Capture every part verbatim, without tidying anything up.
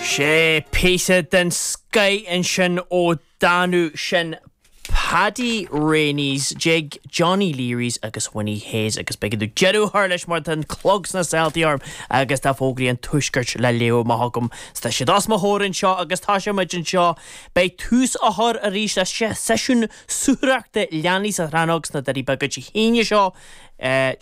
Sé píosa den scoth ansin ó Danú sin Paddy Reaney's Jig, Johnny Leary's agus Winnie Hayes agus beidh tú deireadh thar leis mar an clog sna saoltaí orm agus tá fógraí an tuaiscirt le léamh amach agam. Tá siad os mo chomhair anseo agus tá sé muid anseo beidh tús á chur arís le seisiún súgarthachta leanaí sa Chrannóg sna Doirí Beaga Dé hAoine seo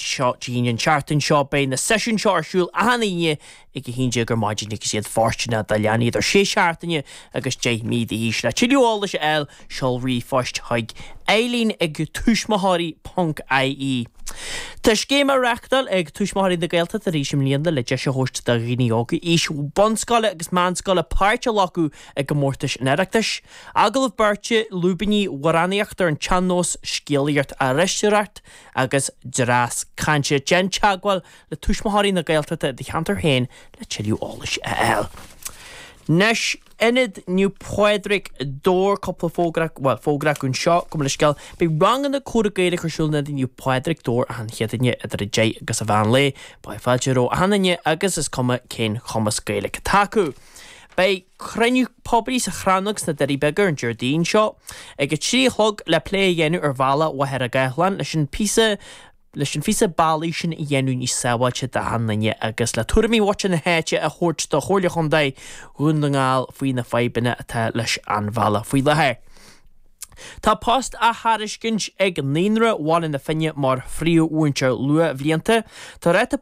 seo Dé hAoine an tseachtain seo beidh na seisiúin seo ar siúl achan Aoine ag a haon déag ar maidin agus iad fóirsteanach do leanaí idir sé seachtaine agus deich mí d'aois le tuilleadh eolais a fháil seol ríomhphost chuig Eileen ag tuismitheoirí ponc IE. Tá scéim á reáchtáil ag Tuismitheoirí na Gaeltachta arís i mbliana le deis a thabhairt do dhaoine óga aois bunscoile agus meánscoile páirt a ghlacadh i gcomórtais an Oireachtais. Agallamh beirte lúibíní amhránaíocht ar an tsean-nós scéalaíocht aisteoireacht agus dreas cainte déan teagmháil le Tuismitheoirí na Gaeltachta i do cheantar féin le tuilleadh eolais a fháil. Anois Ionad Naomh Pádraig Dobhair cúpla fógra well fógra anseo go le scéal Beidh ranganna comhrá Gaeilge ar siúl in Ionad Naomh Pádraig Dobhair achan Chéadaoine idir a deich agus a mheán lae, Beidh fáilte roimh achan duine agus is cuma cén chumas Gaeilge atá acu. Beidh cruinniú poiblí sa Chrannóg sna Doirí Beaga ar an Déardaoin seo ag a trí a chlog le plé a dhéanamh ar bhealach Mhachaire Gathlán leis an píosa leis an phíosa bealaigh sin a dhéanamh níos sábháilte d'achan duine agus le tuairimí mhuintir na háite a thabhairt do Chomhairle Chontae Dhún na nGall faoi na fadhbanna atá leis an bhealach faoi láthair. Tá post á thairiscint ag Naíonra Bhaile na Finne mar phríomh-mhúinteoir luathbhlianta. Tá ráta